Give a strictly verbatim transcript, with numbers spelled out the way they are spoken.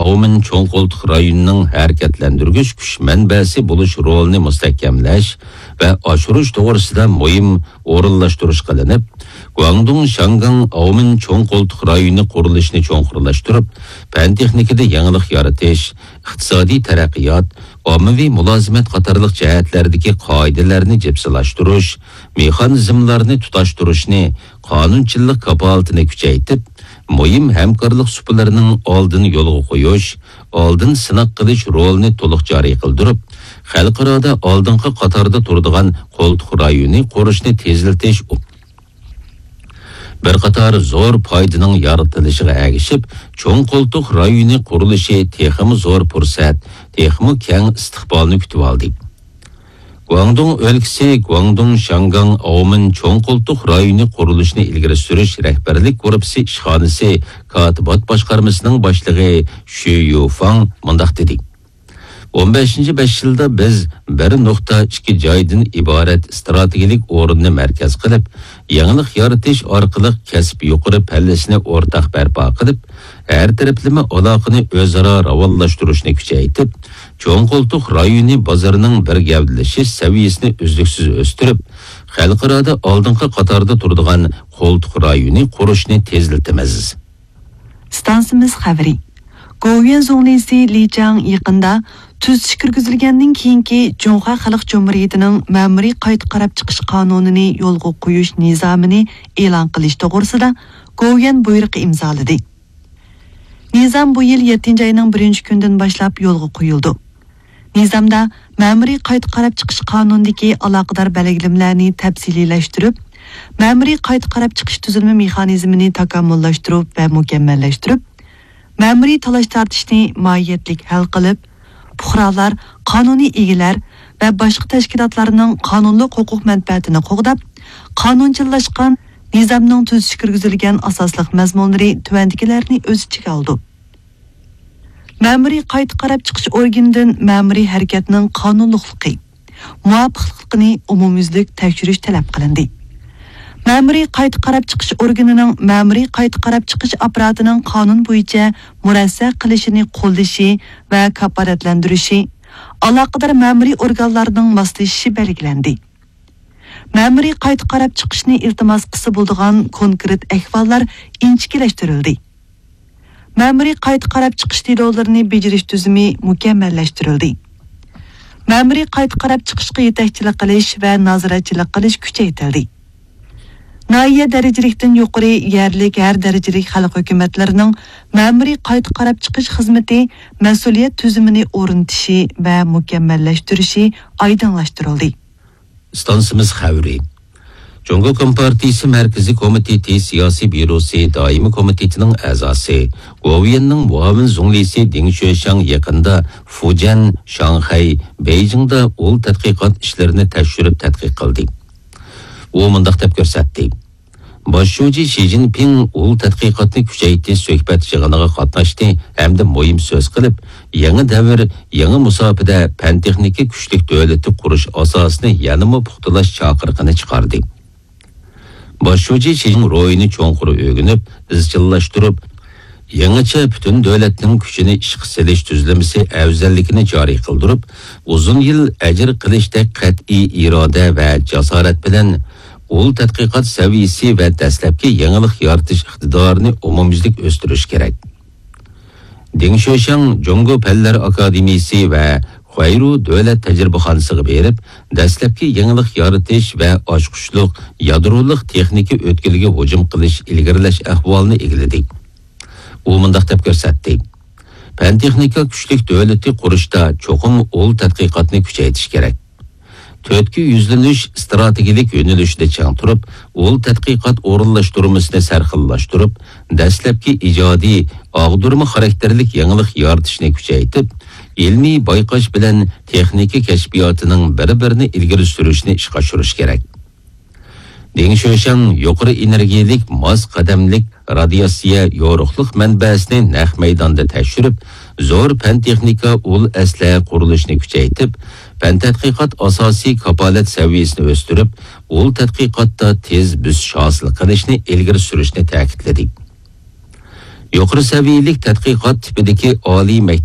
ئاۋمېن چوڭ قولتۇق رايونىنىڭ ھەرىكەتلەندۈرگۈچ كۈچ مەنبەسى بولۇش رولىنى مۇستەھكەملەش ۋە ئاشۇرۇش توغرىسىدا مۇھىم ئورۇنلاشتۇرۇش قىلىنىپ، گۇاڭدۇڭ شياڭگاڭ ئاۋمېن چوڭ قولتۇق رايونى قۇرۇلۇشىنى چوڭقۇرلاشتۇرۇپ، پەن تېخنىكىدا يېڭىلىق يارىتىش، ئىقتىسادىي تەرەققىيات، ئاممىۋى مۇلازىمەت قاتارلىق جەھەتلەردىكى قائىدىلەرنى جىپسىلاشتۇرۇش، مېخانىزملارنى تۇتاشتۇرۇشنى، قانۇنچىللىق كاپالىتىنى كۈچەيتىپ، مۇھىم ھەمكارلىق سۇپىلىرىنىڭ ئالدىنى يولغا قويۇش، ئالدىن سىناق قىلىش رولىنى تولۇق جارى قىلدۇرۇپ، خەلقئارادا ئالدىنقى قاتاردا تۇرىدىغان قولتۇق رايونى قۇرۇشنى تېزلىتىش، بىر قاتار زور پايدىنىڭ يارىتىلىشىغا ئەگىشىپ، چوڭ قولتۇق رايونى قۇرۇلۇشى تېخىمۇ زور پۇرسەت، تېخىمۇ كەڭ ئىستىقبالنى كۈتۈۋالدى. گۇاڭدۇڭ ئۆلكىسى گۇاڭدۇڭ شياڭگاڭ ئاۋمېن چوڭ قولتۇق رايونى قۇرۇلۇشىنى ئىلگىرى سۈرۈش رەھبەرلىك گۇرۇپپىسى ئىشخانىسى كاتىبات باشقارمىسىنىڭ باشلىقى شۈ يۇفاڭ مۇنداق دېدى: «ئون بەشىنچى بەش يىلدا بىز بىر نۇقتا ئىككى جايدىن ئىبارەت ئىستراتېگىيەلىك ئورۇننى مەركەز قىلىپ، يېڭىلىق يارىتىش ئارقىلىق كەسىپ يۇقىرى پەللىسىنى ئورتاق بەرپا قىلىپ، ھەر تەرەپلىمە ئالاقىنى ئۆزئارا راۋانلاشتۇرۇشنى كۈچەيتىپ، چوڭ قولتۇق رايونى بازىرىنىڭ بىر گەۋدىلىشىش سەۋىيەسىنى ئۈزلۈكسىز ئۆستۈرۈپ، خەلقئارادا ئالدىنقى قاتاردا تۇرىدىغان قولتۇق رايونى قۇرۇشنى تېزلىتىمىز.» ئىستانسىمىز خەۋىرى. گوۋۇيۈەن زۇڭلىسى لى چاڭ يېقىندا تۈزىتىش كىرگۈزۈلگەندىن كېيىنكى جۇڭخۇا خەلق جۇمھۇرىيىتىنىڭ مەمۇرىي قايتا قاراپ چىقىش قانۇنىنى يولغا قويۇش نىزامىنى ئېلان قىلىش توغرىسىدا گوۋۇيۈەن بۇيرۇقى ئىمزالىدى. نىزام بۇ يىل يەتتىنچى ئاينىڭ بىرىنچى كۈنىدىن باشلاپ يولغا قويۇلىدۇ. نىزامدا مەمۇرىي قايتا قاراپ چىقىش قانۇنىدىكى ئالاقىدار بەلگىلىمىلەرنى تەپسىلىيلەشتۈرۈپ، مەمۇرىي قايتا قاراپ چىقىش تۈزۈلمە مېخانىزمىنى تاكامۇللاشتۇرۇپ ۋە مۇكەممەللەشتۈرۈپ، مەمۇرىي تالاش-تارتىشنى ماھىيەتلىك ھەل قىلىپ، پۇقرالار، قانۇنىي ئىگىلەر ۋە باشقا تەشكىلاتلارنىڭ قانۇنلۇق ھوقۇق مەنپەئەتىنى قوغداپ، قانۇنچىللاشقان نىزامنىڭ تۈزىتىش كىرگۈزۈلگەن ئاساسلىق مەزمۇنلىرى تۆۋەندىكىلەرنى ئۆز ئىچىگە ئالىدۇ. مەمۇرىي قايتا قاراپ چىقىش ئورگىنىدىن مەمۇرىي ھەرىكەتنىڭ قانۇنلۇقلۇقى، مۇۋاپىقلىقىنى ئومۇميۈزلۈك تەكشۈرۈش تەلەپ قىلىندى. مەمۇرىي قايتا قاراپ چىقىش ئورگىنىنىڭ مەمۇرىي قايتا قاراپ چىقىش ئاپپاراتىنىڭ قانۇن بويىچە مۇرەسسە قىلىشىنى قوللىشى ۋە كاپالەتلەندۈرۈشى، ئالاقىدار مەمۇرىي ئورگانلارنىڭ ماسلىشىشى بەلگىلەندى. مەمۇرىي قايتا قاراپ چىقىشنى ئىلتىماس قىلسا بولىدىغان كونكرېت ئەھۋاللار ئىنچىكىلەشتۈرۈلدى. مەمۇرىي قايتا قاراپ چىقىش دېلولىرىنى بېجىرىش تۈزۈمى مۇكەممەللەشتۈرۈلدى. مەمۇرىي قايتا قاراپ چىقىشقا يېتەكچىلىك قىلىش ۋە نازارەتچىلىك قىلىش كۈچەيتىلدى. ناھىيە دەرىجىلىكتىن يۇقىرى يەرلىك ھەر دەرىجىلىك خەلق ھۆكۈمەتلىرىنىڭ مەمۇرىي قايتا قاراپ چىقىش خىزمىتى مەسئۇلىيەت تۈزۈمىنى ئورنىتىشى ۋە مۇكەممەللەشتۈرۈشى ئايدىڭلاشتۇرۇلدى. ئىستانسىمىز خەۋىرى. جۇڭگو كومپارتىيىسى مەركىزىي كومىتېتى سىياسىي بيۇروسى دائىمىي كومىتېتىنىڭ ئەزاسى، گوۋۇيۈەننىڭ مۇئاۋىن زۇڭلىسى دېڭ شۆشياڭ يېقىندا فۇجيەن، شاڭخەي، بېيجىڭدا ئۇل تەتقىقات ئىشلىرىنى تەكشۈرۈپ تەتقىق قىلدى. ئۇ مۇنداق دەپ كۆرسەتتى: باش شۇجى شى جىنپىڭ ئۇل تەتقىقاتنى كۈچەيتىش سۆھبەت يىغىنىغا قاتناشتى ھەمدە مۇھىم سۆز قىلىپ، يېڭى دەۋر، يېڭى مۇساپىدە پەن-تېخنىكا كۈچلۈك دۆلىتى قۇرۇش ئاساسىنى يەنىمۇ پۇختىلاش چاقىرىقىنى چىقاردى. باش شۇجى شىنجاڭ روھىنى چوڭقۇر ئۆگىنىپ، ئىزچىللاشتۇرۇپ، يېڭىچە پۈتۈن دۆلەتنىڭ كۈچىنى ئىشقا سېلىش تۈزۈلمىسى ئەۋزەللىكىنى جارى قىلدۇرۇپ، ئۇزۇن يىل ئەجىر قىلىشتەك قەتئىي ئىرادە ۋە جاسارەت بىلەن ئۇل تەتقىقات سەۋىيىسى ۋە دەسلەپكى يېڭىلىق يارىتىش ئىقتىدارىنى ئومۇميۈزلۈك ئۆستۈرۈش كېرەك. دېڭ شۆشياڭ جۇڭگو پەنلەر ئاكادېمىيىسى ۋە خۇەيرۇ دۆلەت تەجرىبىخانىسىغا بېرىپ، دەسلەپكى يېڭىلىق يارىتىش ۋە ئاچقۇچلۇق يادرولۇق تېخنىكا ئۆتكىلىگە ھۇجۇم قىلىش، ئىلگىرىلەش ئەھۋالىنى ئىگىلىدى. ئۇ مۇنداق دەپ كۆرسەتتى: پەن-تېخنىكا كۈچلۈك دۆلىتى قۇرۇشتا چوقۇم ئۇل تەتقىقاتنى كۈچەيتىش كېرەك. تۆتكە يۈزلىنىش ئىستراتېگىيەلىك يۆنىلىشىدە چىڭ تۇرۇپ، ئۇل تەتقىقات ئورۇنلاشتۇرمىسىنى سەرخىللاشتۇرۇپ، دەسلەپكى ئىجادىي، ئاغدۇرما خاراكتېرلىك يېڭىلىق يارىتىشنى كۈچەيتىپ، ئىلمىي بايقاش بىلەن تېخنىكا كەشپىياتىنىڭ بىر-بىرىنى ئىلگىرى سۈرۈشنى ئىشقا ئاشۇرۇش كېرەك. دېڭ شۆشياڭ يۇقىرى ئېنېرگىيەلىك ماس قەدەملىك رادىياتسىيە يورۇقلۇق مەنبەسىنى نەق مەيداندا تەكشۈرۈپ، زور پەن-تېخنىكا ئۇل ئەسلىھە قۇرۇلۇشىنى كۈچەيتىپ، پەن-تەتقىقات ئاساسىي كاپالەت سەۋىيەسىنى ئۆستۈرۈپ، ئۇل تەتقىقاتتا تېز بۆسۈش ھاسىل قىلىشنى ئىلگىرى سۈرۈشنى تەكىتلىدى. يۇقىرى سەۋىيەلىك تەتقىقات تىپىدىكى ئالىي مەكتەپ